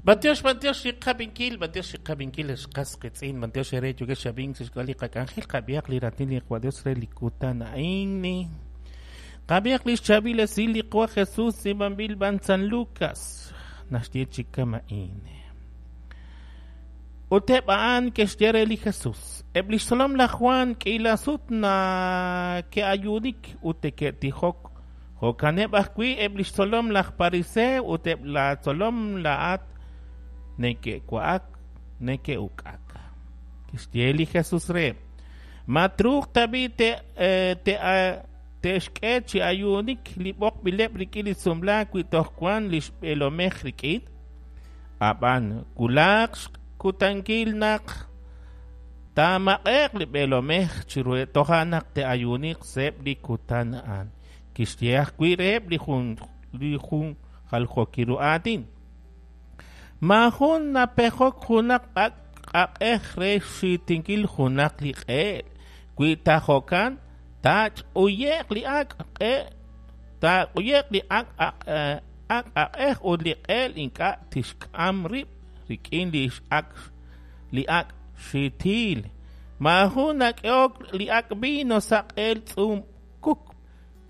B'antiox, b'antiox li qab'inkil, b'antiox li qab'inkil ex qas qiitz'in, b'antiox eere yookex chi ab'ink sa' xk'ab'a' li qak'anjel, qab'ihaq li raatin li Qaawa' Dios re li kutan a'in. Qab'ihaq li xchaab'il esil li Qaawa' Jesus tz'iib'anb'il b'an San Lucas, naxye chi kama'in. Ut eb' a'an ke'xye re li Jesus, eb' li xtzolom laj Jwan k'iila sut nake'ayuunik ut neke'tijok Jo'kaneb' ajwi' eb' li xtzolom laj Pariseo ut eb' laatzolom laa'at neke'wa'ak neke'uk'ak. Kixye li Jesus reheb', Ma truuq tab'i' te'xk'e chi ayuunik li b'oqb'ileb' rik'in li sumlaak wi toj wank li xb'eelomej rik'in? Ab'an wulaq xkutankil naq taamaq'e'q li b'eelomej chiruheb' toja' naq te'ayuuniq sa'eb' li kutan a'an. Kixye ajwi' reheb' li jun li jun jaljookil ru aatin. Maajun napejok junaq ak' aq'ej re xxiitinkil junaq li q'eel. Wi ta jo'kan, taach'uye'q li ak' q'e taaq'uye'q li ak' ak' aq'ej ut li q'eel ink'a' tixk'am rib' rik'in li ak' li ak' xiitil. Maajun nak'ehok li ak' vino sa' q'eel tz'uum kuk.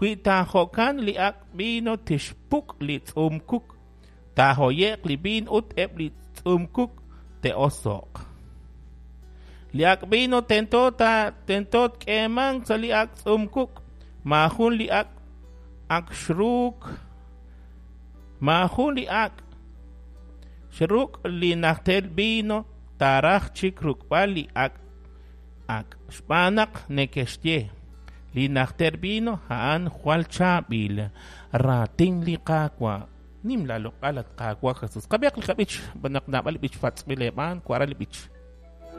Wi ta jo'kan, li ak' vino tixpuk' li tz'uum kuk, taahoye'q li viin ut eb' li tz'uum kuk te'oso'q. Li ak' vino tento ta tento tk'eemanq sa' li ak' tz'uum kuk. Maajun li ak' ak xruuk maajun li ak' xruk' li najter vino taaraj chik ruk'b'al li ak' ak', xb'aan naq neke'xye, Li najter vino a'an jwal chaab'il. Raatin li Qaawa'. Nim laaloq'al, at Qaawa' Jesus. Qab'ihaq li qab'ich, xb'aan naq naab'al li b'ich patz'b'il eeb'aan, wa'ra li b'ich.